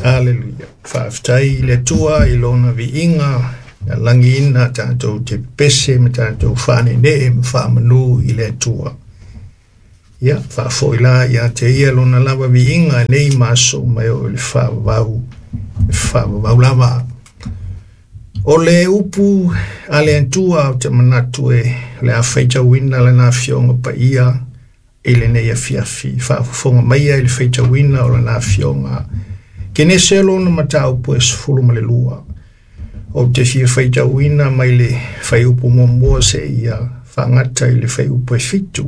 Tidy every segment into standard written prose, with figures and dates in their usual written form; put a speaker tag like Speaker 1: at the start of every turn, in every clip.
Speaker 1: Aleluia. Faafetai i le Atua i lona viiga na lagiina tatou te pese ma tatou faaneenee ma faamanu i le Atua. Ia, faafoi la ia te ia lona lava viiga nei ma aso uma e oo i le faavavau, le faavavau lava. O le upu a le Atua ou te manatu e o le a faitauina lana Afioga Paia i lenei afiafi. Faafofoga maia i le faitauina o lana Afioga. Kenese lona mataupu e 12. Ou te fia faitauina mai le fuaiupu muamua seia faagata i le fuaiupu e 7.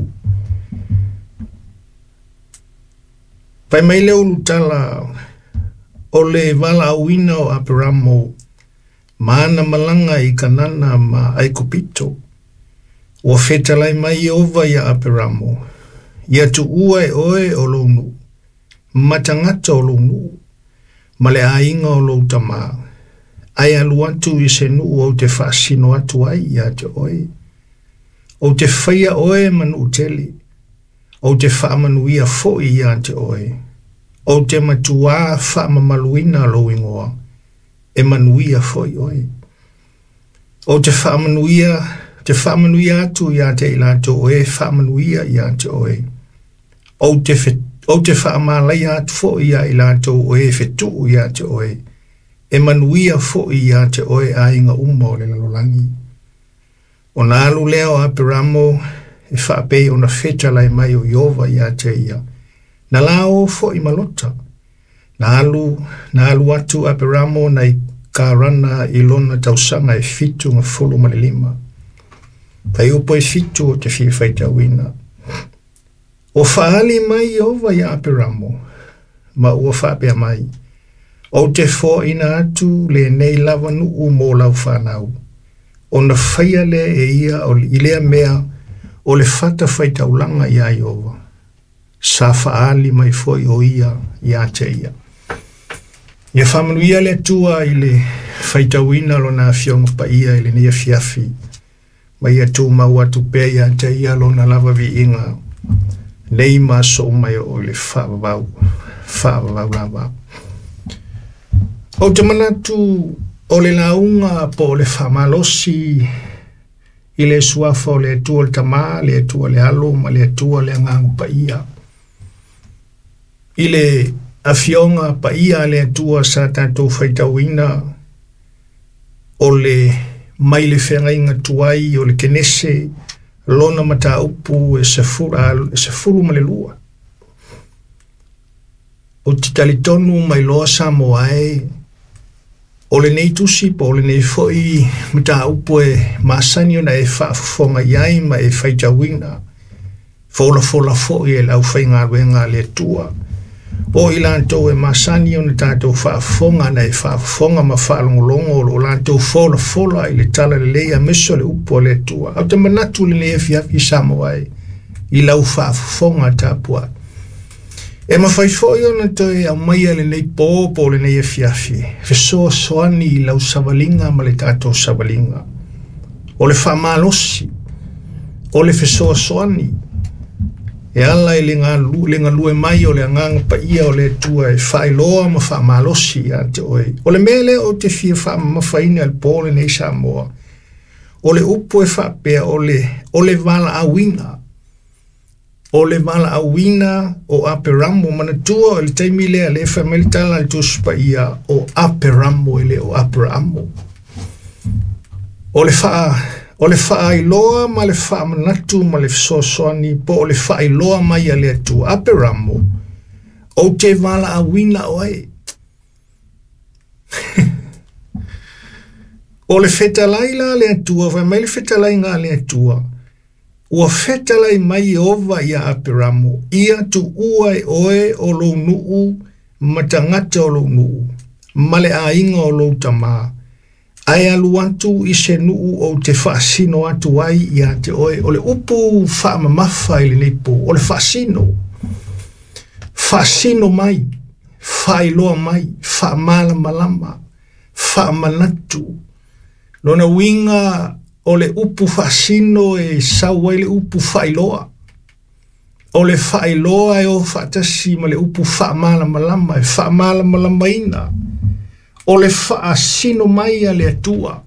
Speaker 1: Fai mai le ulutala o le valaauina o Aperamo ma ana malaga i Kanana ma Aikupito. Ua fetalai mai Ieova ia Aperamo, ia tuua e oe o lou nuu, ma tagata o lou nuu, ma le aiga o lou tamā, ae alu atu i se nuu ou te faasino atu ai ia te oe. Ou te faia oe ma nuu tele, ou te faamanuia foi ia te oe. Ou te matuā faamamaluina lou ingoa, e manuia foi oe. Ou te faamanuia, te faamanuia atu ia te i latou o e faamanuia ia te oe. Ou te, ou te faamalaia atu foi ia i latou o e fetuu ia te oe. E manuia foi ia te oe aiga uma o le lalolagi. Ona alu lea o Aperamo e faapei ona fetalai mai o Ieova ia te ia. Na la o foi ma Lota. Na alu, na alu atu Aperamo nai Karana i lona tausaga e 75. Fuaiupu e 7 ou te fia faitauina. Ua faaali mai Ieova ia Aperamo, ma ua faapea mai, Ou te foaina atu lenei lava nuu mo lau fanau, ona faia lea e ia i lea mea o le fatafaitaulaga iā Ieova, sa faaali mai foi o ia ia te ia. Ia faamanuia le Atua i le faitauina o lona Afioga Paia i lenei afiafi, ma ia tumau atu pea ia te ia lona lava viiga, nei ma aso uma e oo i le faavavau, faavavau lava. Ou te manatu o le lauga po o le faamalosi i le suafa o le Atua le Tama, le Atua le Alo ma le Atua le Agaga Paia. I le afioga paia a le Atua sa tatou faitauina o le mai le feagaiga tuai o le Kenese lona mataupu e 12. Ou te talitonu mai loa Samoa e o lenei tusi po o lenei foi mataupu e masani ona e faafofoga i ai ma e faitauina, folafola foi e le aufaigaluega a le Atua. O i latou e masani ona tatou faafofoga na e faafofoga ma faalogologo o lo o latou folafola i le talalelei aemaise o le upu a le Atua. Ou te manatu i lenei afiafi Samoa e i lau faafofoga tapuai. E mafai foi ona toe aumaia lenei pō po o lenei afiafi, fesoasoani i lau savaliga ma le tatou savaliga. O le faamalosi, o le fesoasoani, e ala i le galue mai o le Agaga Paia o le Atua e faailoa ma faamalosi ia te oe. O le mea lea ou te fia faamamafaina i le pō lenei Samoa, o le upu e faapea o le valaauina. O le valaauina o Aperamo, manatua o le taimi lea le fai mai le tala a le Tusi Paia o Aperamo e le o Aperaamo. O le faailoa ma le faamanatu ma le fesoasoani po o le faailoa mai a le Atua. Aperamo, ou te valaauina oe. O le fetalai la a le Atua, fai mai le fetalaiga a le Atua, ua fetalai mai Ieova ia Aperamo, ia tuua e oe o lou nuu ma tagata o lou nuu, ma le aiga o lou tamā, ae alu atu i se nuu ou te faasino atu ai ia te oe. O le upu faamamafa i lenei pō, o le faasino. Faasino mai, faailoa mai, faamalamalama, faamanatu. Lona uiga o le upu faasino e sau ai le upu faailoa. O le faailoa e o faatasi ma le upu faamalamalama e faamalamalamaina. O le faasino mai a le Atua.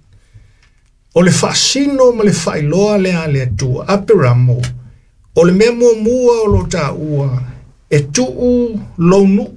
Speaker 1: O le faasino ma le faailoa lea a le Atua. Aperamo, o le mea muamua o lo taua, e tuu lou nuu.